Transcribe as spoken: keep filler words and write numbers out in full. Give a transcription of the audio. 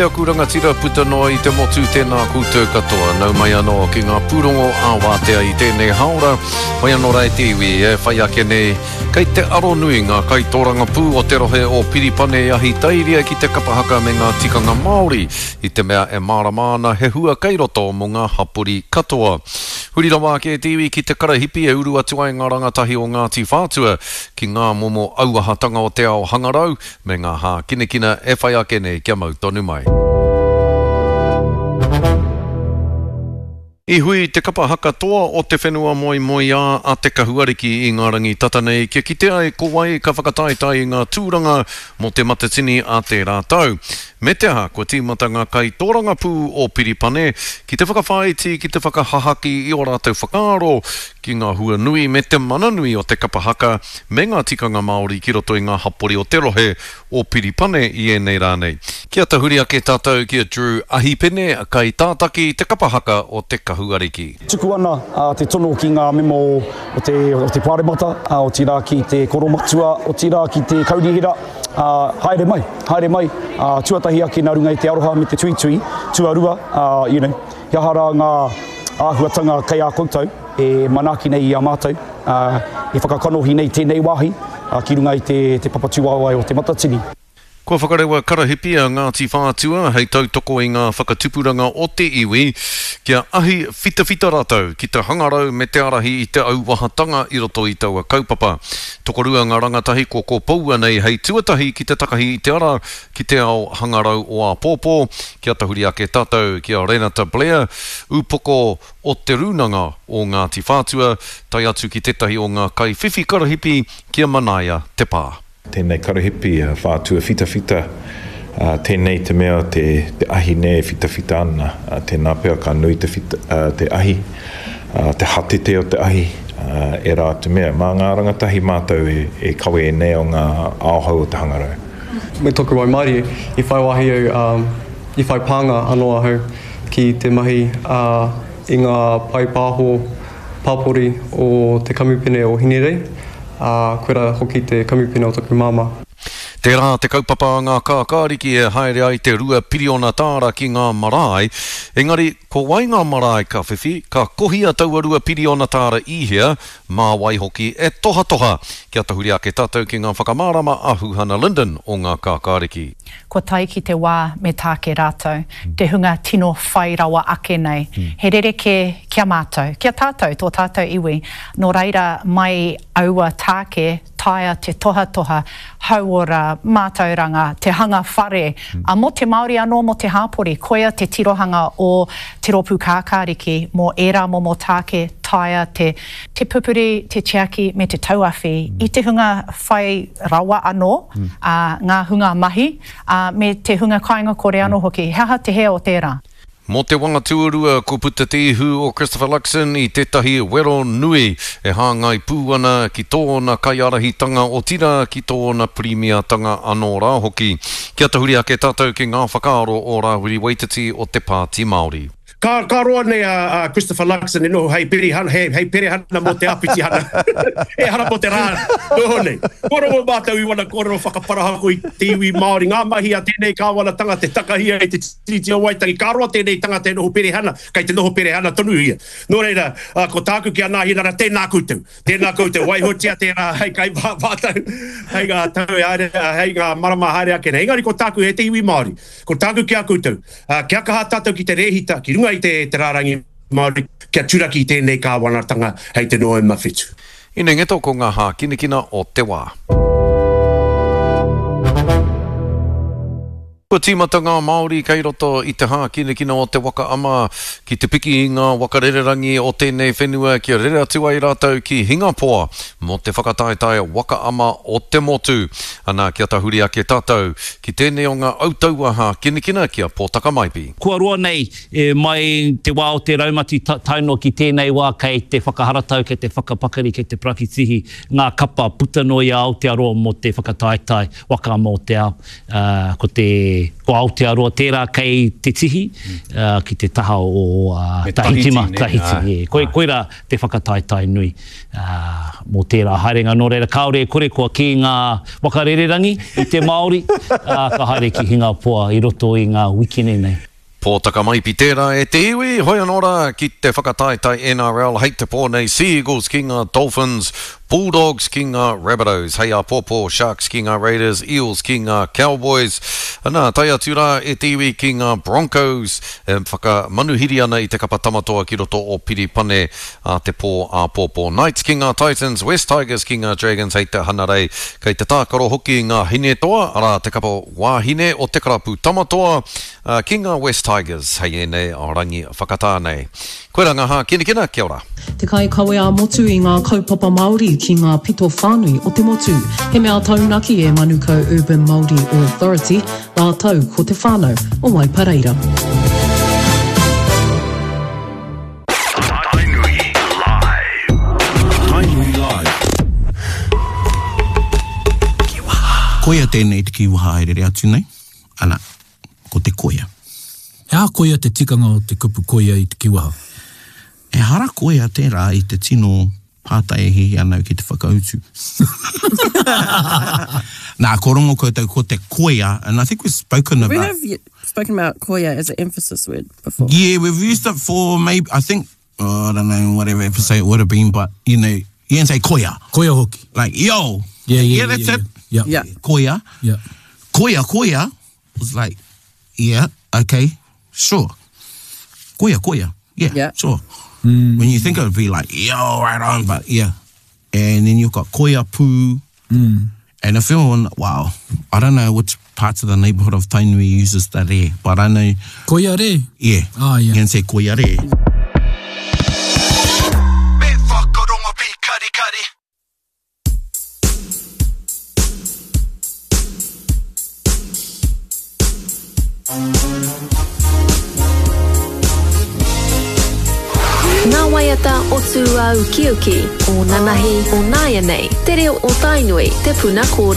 aku rangatira puta noa i te motu, tēnā koutou katoa. Nau mai anō ki ngā pūrongo ā-wātea i tēnei haora. Whai anō rā e te iwi e whai ake nei. Kei te aronui ngā kaitōrangapū o te rohe o Piripane i Ahitairia ki te kapa haka me ngā tikanga Māori, i te mea e mārama ana he hua kei roto mō ngā hapori katoa. Huri rawa ake e te iwi ki te karahipi e uru atu ai ngā rangatahi o Ngāti Whātua ki ngā momo auahatanga o te ao hangarau me ngā hākinakina e whai ake nei kia mau tonu mai. I hui te kapa haka toa o te whenua moemoeā a Te Kahuariki i ngā rangi tata nei kia kite ai ko wai ka whakataetae i ngā tūranga mō Te Matatini a tērā tau. Me te aha, kua tīmata ngā kaitōrangapū o Piripane ki te whakawhāiti, ki te whakahahaki i ō rātou whakaaro ki ngā hua nui me te mana nui o te kapa haka me ngā tikanga Māori ki roto i ngā hapori o te rohe o Piripane i ēnei rā nei. Kia tahuri ake tātou ki a Drew Ahipene, kaitātaki te kapa haka o Te Kahuariki. Tuku ana te tono ki ngā mema o te, o te Pāremata, otirā ki te Koromatua, otirā ki te Kaunihera, haere mai, haere mai, tuatahi ake nā runga i te aroha me te tuitui, tuarua, you know, he aha rā ngā āhuatanga kei a koutou e manaaki nei i a mātou, e whakakanohi nei tēnei wāhi ki runga i te, te papatūwaewae o Te Matatini. Kua whakarewa karahipi a Ngāti Whātua hei tautoko i ngā whakatupuranga o te iwi kia ahi whitawhita rātou ki te hangarau me te ārahi i te auahatanga i roto i taua kaupapa. Tokorua ngā rangatahi kua kōpoua nei hei tuatahi ki te takahi i te ara ki te ao hangarau o āpōpō. Kia tahuri ake tātou ki a Renata Blair, upoko o Te Rūnanga o Ngāti Whātua, tae atu ki tētahi o ngā kaiwhiwhi karahipi ki a Manaia Te Pā. Tēnei karahipi a Whātua Whitawhita, tēnei te mea te ahi nei e whitawhita ana, tēnā pea ka nui te, te ahi, te hatete o te ahi, ērā atu mea. Mā ngā rangatahi mātou e kawe ēnei o ngā ao hou o te hangarau. Me toku waimarie, i whai wāhi au, i whai pānga anō ahau ki te mahi i ngā pae pāho pāpori o te kamupene o Hinerei, ā, koirā hoki te kamupene o taku māmā. Tērā te kaupapa a ngā kākāriki e haere ai te rua piriona tāra ki ngā marae, engari ko wai ngā marae ka whiwhi, ka kohia taua rua piriona tāra i hea, mā wai hoki e tohatoha? Kia tahuri ake tātou ki ngā whakamārama a Huhana Lyndon o ngā kākāriki. Kua tae ki te wā me tāke rātou, te hunga tino whai rawa ake nei. He rerekē ki a mātou, ki a tātou, tō tātou iwi. Nō reira, mai aua tāke, taea te tohatoha, hauora, mātauranga, te hanga whare, ā, mō te Māori anō, mō te hāpori. Koia te tirohanga o Te Rōpū Kākāriki mō ērā momo tāke, taea te te pupuri, te tiaki me te tauawhi i te hunga whai rawa anō, ā, ngā hunga mahi, ā, me te hunga kāinga kore anō hoki. He aha te hē o tērā? Mō te wanga tuarua, kua puta te ihu o Christopher Luxon i tētahi wero nui e hāngai pū ana ki tōna kaiārahitanga, otirā ki tōna pirimiatanga anō rā hoki. Kia tahuri ake tātou ki ngā whakaaro o Rāwiri Waititi o te Pāti Māori. Ka, ka roa nei a, a Christopher Luxon e noho hei perihana, hei, hei perehana mō te āpitihana. Ehara mō te rā noho nei. Kua rongo mātou i wana kōrero whakaparahako i te iwi Māori, ngā mahi a tēnei kāwanatanga te takahia i te Tiriti o Waitangi. Ka roa tēnei tangata e noho perehana, kei te noho perehana tonu ia. Nō reira, ko tāku ki a Nāhinara, tēnā koutou. Tēnā koutou, waihotia tērā hei kai mātou, hei ngā tau e haere, hei ngā marama haere ake nei. Engari ko tāku he te iwi Māori. Ko tāku ki a koutou, kia kaha tātou ki te rēhita, ki runga i te, te rārangi Māori, kia turaki i tēnei kāwanatanga hei te Noema whitu. Ine ngeto ko ngā hākinakina o te wā. Kua tīmata ngā Māori kei roto i te hākinakina o te waka ama ki te piki i ngā waka rererangi o tēnei whenua kia rere atu ai rātou ki Hingapoa mō te whakataetae waka ama o te motu. Ana, kia tahuri ake tātou ki tēnei o ngā autaua hākinakina ki a Pōtaka Maipi. Kua roa nei mai te wā o te raumati tae noa ki tēnei wā kei te whakaharatau, kei te whakapakari, kei te parakitihi ngā kapa puta noa i a Aotearoa mō te whakataetae waka ama o te ao. Ko te ko Aotearoa tērā kei te tihi, uh, ki te taha o uh, Tahiti, ma, Tahiti. Ē. Koi, koirā te whakataetae nui uh, mō tērā haerenga. Nō reira, kāore e kore kua kī ngā waka rererangi i te Māori, uh, ka haere ki Hingapoa i roto i ngā wikene nei. Pōtaka Maipi tērā e te iwi, hoi anō rā ki te whakataetae N R L hei te pō nei, Sea Eagles ki ngā Dolphins, Bulldogs ki ngā Rabbitohs, hei āpōpō Sharks ki ngā Raiders, Eels ki ngā Cowboys. Nā, tae atu rā e te iwi ki ngā Broncos, e whakamanuhiri ana i te kapa tamatoa ki roto o Piripane a te pō āpōpō. Knights ki ngā Titans, West Tigers ki ngā Dragons hei te Hanarei, kei te tākaro hoki ngā Hinetoa, arā te kapa wāhine o te karapu tamatoa, ki ngā West Tigers hei ēnei rangi whakatā nei. Koe rā ngā hākinakina, kia ora. Te kaikawe ā-motu i ngā kaupapa Māori ki ngā pito whānui o te motu. He mea taunaki e Manukau Urban Māori Authority, rātou ko te whānau o Waipareira. Tainui Live. Tainui Live. Koia tēnei te kiwaha e rere atu nei. Ana, ko te koia. He aha koia te tikanga o te kupu koia i te kiwaha? E hara koia tērā i te tino pātai e hihi anau ki te whakautu. Nā, ko rongo koutou ko te koia, and I think we've spoken about... We have spoken about koia as an emphasis word before. Yeah, we've used it for maybe, I think, oh, I don't know, whatever episode it would have been, but, you know, you can say koia. Koia hoki. Like, yo. Yeah, yeah, yeah, that's yeah, it. Yeah. Yeah. Koia. Yeah. Koia, koia was like, yeah, okay, sure. Koia, koia. Yeah, yeah. Sure. Mm. When you think it would be like, yo, right on, but yeah. And then you've got koia pū. Mm. And if you're, wow, I don't know which parts of the neighborhood of Tainui uses the re, but I know. Koia re? Yeah. Ah, yeah. You can say koia re. Ngā waiata o Tūāukiuki, o Nanahi, o Nāianei, te reo o Tainui, te puna kōrero.